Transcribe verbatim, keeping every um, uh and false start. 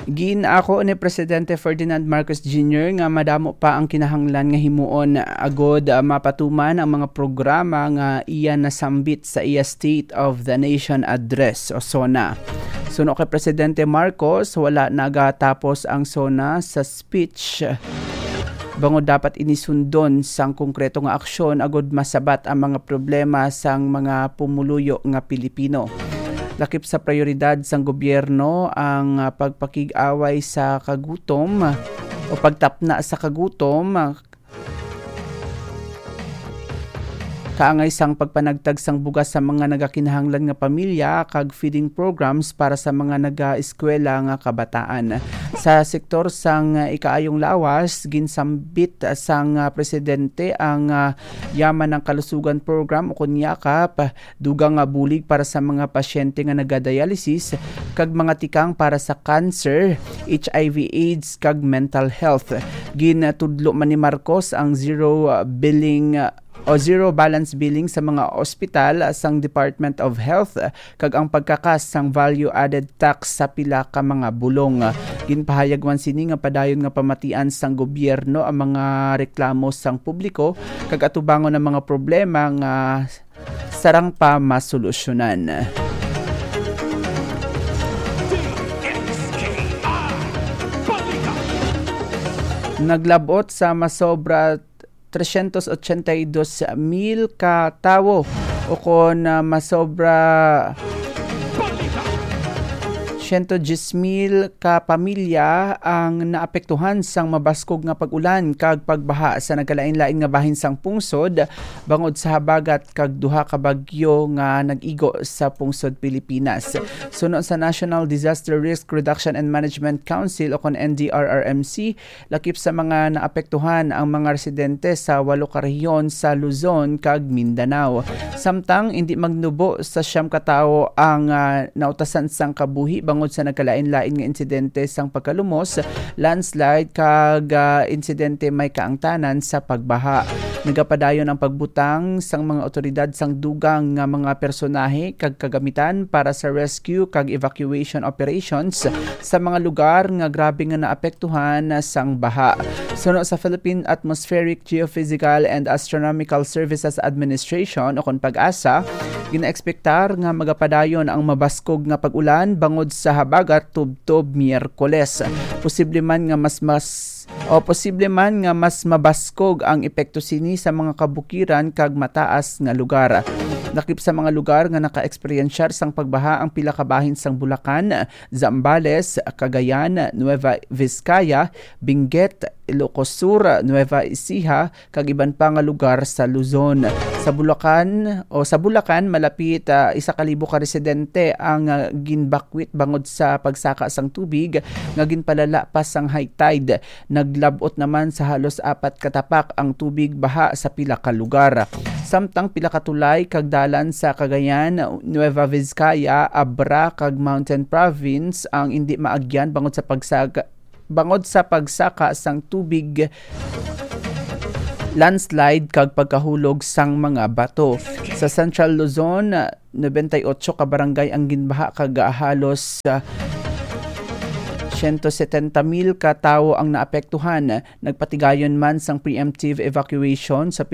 Ginako ni Presidente Ferdinand Marcos Junior nga madamo pa ang kinahanglan nga himuon agod, ah, mapatuman ang mga programa nga iya nasambit sa iya State of the Nation Address o SONA. Suno kay Presidente Marcos, wala nagatapos ang SONA sa speech. Bangod dapat inisundon sang konkreto nga aksyon agud masabat ang mga problema sang mga pumuluyo nga Pilipino. Lakip sa prioridad sang gobyerno ang, ah, pagpakig-away sa kagutom o pagtapna sa kagutom, ah, kaangay sang pagpanagtag sang bugas sa mga nagakinahanglan nga pamilya kag feeding programs para sa mga nagaeskwela nga kabataan. Sa sektor sang ikaayong lawas, ginsambit sang, ah, presidente ang, ah, Yaman ng Kalusugan Program o kon yakap, dugang nga bulig para sa mga pasyente nga nagadialysis, kag mga tikang para sa cancer, H I V AIDS, kag mental health. Ginatudlo man ni Marcos ang zero, uh, billing, uh, o zero balance billing sa mga ospital, uh, sang Department of Health, uh, kag ang pagkakas sang value-added tax sa pila ka mga bulong. Ginpahayag man sini nga padayon nga pamatian sang gobyerno ang mga reklamo sang publiko kag atubangon ang mga problema nga sarang pa masolusyonan. Naglabot sa masobra trescientos ochenta y dos mil ka tawo, o kon, ah, masobra siyento diyes mil ka pamilya ang naapektuhan sang mabaskog nga pag-ulan kag pagbaha sa nagkalain-lain nga bahin sang pungsod, bangod sa habagat kag duha ka bagyo nga nag-igo sa pungsod Pilipinas. Suno sa National Disaster Risk Reduction and Management Council o kon N D R R M C, lakip sa mga naapektuhan ang mga residente sa walo ka rehiyon sa Luzon kag Mindanao. Samtang indi magnubo sa siyam ka tawo ang, ah, nautasan sang kabuhi bangod sa nagkalain-lain nga insidente sang pagkalumos, landslide, kag, ah, insidente may kaangtanan sa pagbaha. Nagapadayon ang pagbutang sang mga otoridad sang dugang nga mga personahe kag kagamitan para sa rescue kag evacuation operations sa mga lugar nga grabe nga naapektuhan sang baha. Suno sa Philippine Atmospheric, Geophysical and Astronomical Services Administration o kon PAGASA, ginaekspektar nga magapadayon ang mabaskog nga pag-ulan bangod sa habagat tubtob Miyerkules. Posible man nga mas, mas, o posible man nga mas mabaskog ang epekto sini sa mga kabukiran kag mataas nga lugar. Lakip sa mga lugar nga naka-eksperyensyar sang pagbaha ang pila ka bahin sang Bulacan, Zambales, Cagayan, Nueva Vizcaya, Benguet, Ilocos Sur, Nueva Ecija, kag iban pa nga lugar sa Luzon. Sa Bulacan, o sa Bulacan, malapit, ah, isa ka libo ka residente ang, ah, ginbakwit bangod sa pagsaka sang tubig nga ginpalala pa sang high tide. Naglab-ot naman sa halos apat ka tapak ang tubig baha sa pila ka lugar. Samtang pila ka tulay kag dalan sa Cagayan, Nueva Vizcaya, Abra, kag Mountain Province ang indi maagyan bangod sa pagsag-, bangod sa pagsaka sang tubig, landslide, kag pagkahulog sang mga bato. Sa Central Luzon, noventa y ocho ka barangay ang ginbaha kag halos, ah, siyento setenta mil ka tawo ang naapektuhan. Nagpatigayon man sang preemptive evacuation sa pila